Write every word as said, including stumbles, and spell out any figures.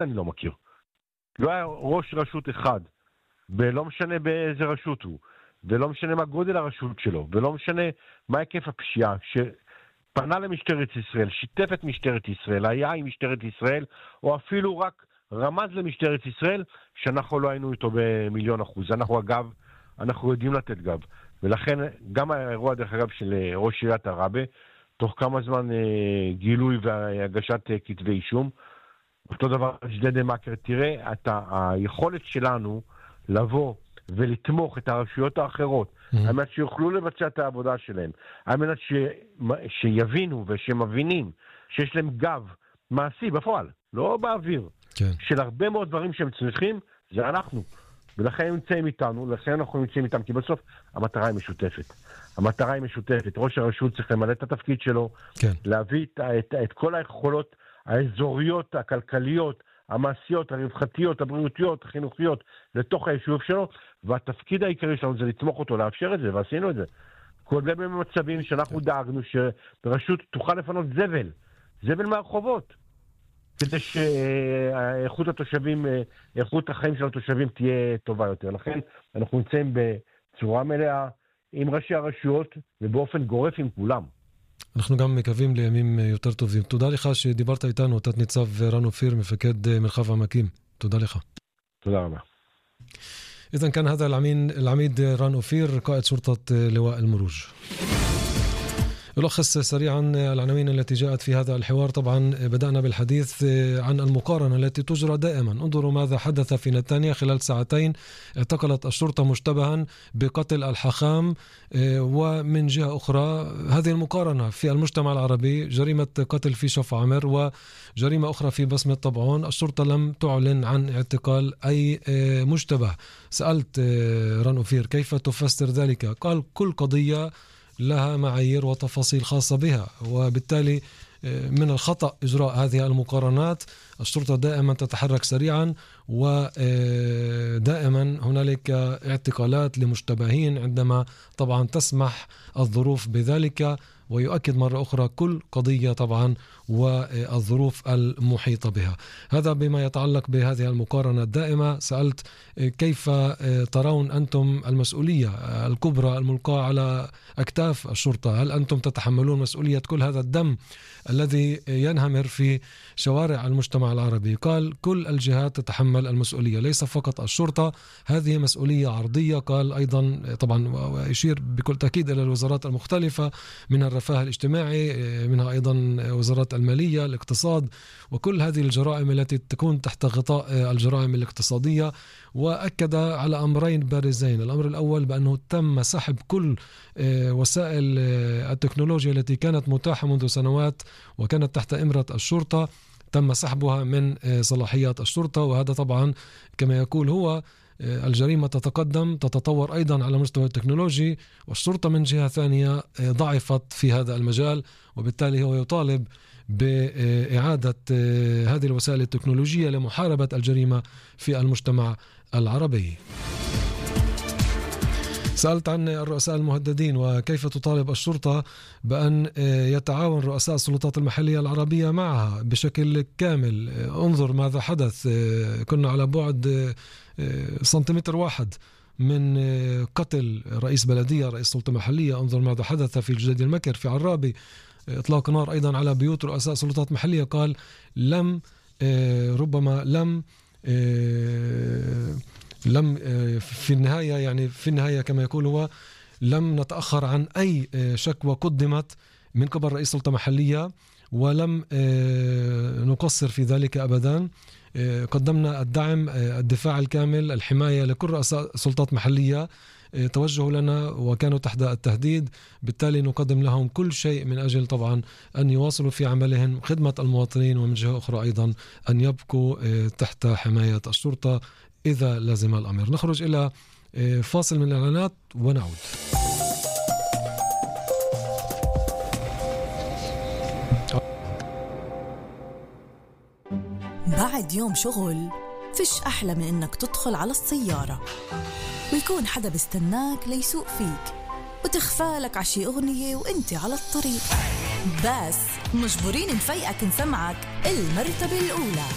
אני לא מכיר. לא היה ראש רשות אחד, ולא משנה באיזה רשות הוא, ולא משנה מה גודל הרשות שלו, ולא משנה מה היקף הפשיעה, שפנה למשטרת ישראל, שיתף את משטרת ישראל, היה עם משטרת ישראל, או אפילו רק רמז למשטרת ישראל, שאנחנו לא היינו איתו במיליון אחוז. אנחנו אגב, אנחנו יודעים לתת גב. ולכן גם האירוע דרך אגב של ראש עיריית עראבה, תוך כמה זמן אה, גילוי והגשת אה, כתבי אישום, אותו דבר ג'דיידה מכר, תראה את היכולת שלנו לבוא ולתמוך את הרשויות האחרות, mm-hmm. על מנת שיוכלו לבצע את העבודה שלהם, על מנת ש... שיבינו ושמבינים שיש להם גב מעשי בפועל, לא באוויר, כן. של הרבה מאוד דברים שהם צריכים, זה אנחנו. ולכן הם נמצאים איתנו, לכן אנחנו נמצאים איתם, כי בסוף המטרה היא משותפת. המטרה היא משותפת. ראש הרשות צריך למלא את התפקיד שלו, כן. להביא את, את, את כל היכולות האזוריות, הכלכליות, המעשיות, הרווחתיות, הבריאותיות, החינוכיות, לתוך היישוב שלו, והתפקיד העיקרי שלנו זה לתמוך אותו, לאפשר את זה, ועשינו את זה. כולל במצבים שאנחנו דאגנו שרשות תוכל לפנות זבל, זבל מהרחובות, כדי שאיכות התושבים, איכות החיים של התושבים תהיה טובה יותר. לכן אנחנו נמצאים בצורה מלאה עם ראשי הרשויות, ובאופן גורף עם כולם. אנחנו גם מקווים לימים יותר טובים. תודה לך שדיברת איתנו, תת ניצב רן אופיר, מפקד מרחב העמקים. תודה לך. תודה רבה. إذن كان هذا العميد العميد ران أوفير قائد شرطة لواء المروج. ألخص سريعا العناوين التي جاءت في هذا الحوار. طبعا بدأنا بالحديث عن المقارنة التي تجرى دائما. انظروا ماذا حدث في نتانيا. خلال ساعتين اعتقلت الشرطة مشتبها بقتل الحاخام، ومن جهة أخرى هذه المقارنة في المجتمع العربي، جريمة قتل في شف عمر وجريمة أخرى في بصمة طبعون. الشرطة لم تعلن عن اعتقال أي مشتبه. سألت ران أوفير كيف تفسر ذلك؟ قال كل قضية لها معايير وتفاصيل خاصة بها، وبالتالي من الخطأ إجراء هذه المقارنات. الشرطة دائما تتحرك سريعا، ودائما هنالك اعتقالات لمشتبهين عندما طبعا تسمح الظروف بذلك. ويؤكد مرة أخرى كل قضية طبعا والظروف المحيطة بها. هذا بما يتعلق بهذه المقارنة الدائمة. سألت كيف ترون أنتم المسؤولية الكبرى الملقاة على أكتاف الشرطة؟ هل أنتم تتحملون مسؤولية كل هذا الدم الذي ينهمر في شوارع المجتمع العربي؟ قال كل الجهات تتحمل المسؤولية، ليس فقط الشرطة، هذه مسؤولية عرضية. قال أيضا طبعا ويشير بكل تأكيد إلى الوزارات المختلفة، منها الرفاه الاجتماعي، منها أيضا وزارات المالية، الاقتصاد، وكل هذه الجرائم التي تكون تحت غطاء الجرائم الاقتصادية. وأكد على أمرين بارزين. الأمر الأول بأنه تم سحب كل وسائل التكنولوجيا التي كانت متاحة منذ سنوات وكانت تحت إمرة الشرطة، تم سحبها من صلاحيات الشرطة. وهذا طبعا كما يقول هو الجريمة تتقدم تتطور أيضا على مستوى التكنولوجي، والشرطة من جهة ثانية ضعفت في هذا المجال، وبالتالي هو يطالب بإعادة هذه الوسائل التكنولوجية لمحاربة الجريمة في المجتمع العربي. سألت عن الرؤساء المهددين وكيف تطالب الشرطة بأن يتعاون رؤساء السلطات المحلية العربية معها بشكل كامل. انظر ماذا حدث، كنا على بعد سنتيمتر واحد من قتل رئيس بلدية، رئيس سلطة محلية. انظر ماذا حدث في جديدة المكر في عرابي، إطلاق نار أيضا على بيوت رؤساء سلطات محلية. قال لم ربما لم لم في النهاية يعني في النهاية كما يقول هو لم نتأخر عن أي شكوى قدمت من قبل رئيس سلطة محلية، ولم نقصر في ذلك أبدا. قدمنا الدعم، الدفاع الكامل، الحماية لكل رؤساء سلطات محلية توجهوا لنا وكانوا تحت التهديد، بالتالي نقدم لهم كل شيء من أجل طبعا أن يواصلوا في عملهم خدمة المواطنين، ومن جهة أخرى أيضا أن يبقوا تحت حماية الشرطة إذا لازم الأمر. نخرج إلى فاصل من الإعلانات ونعود. بعد يوم شغل فيش أحلى من إنك تدخل على السيارة ويكون حدا بيستناك ليسوق فيك وتخفالك عشي أغنية وإنت على الطريق، بس مجبورين نفيقك نسمعك المرتبة الأولى.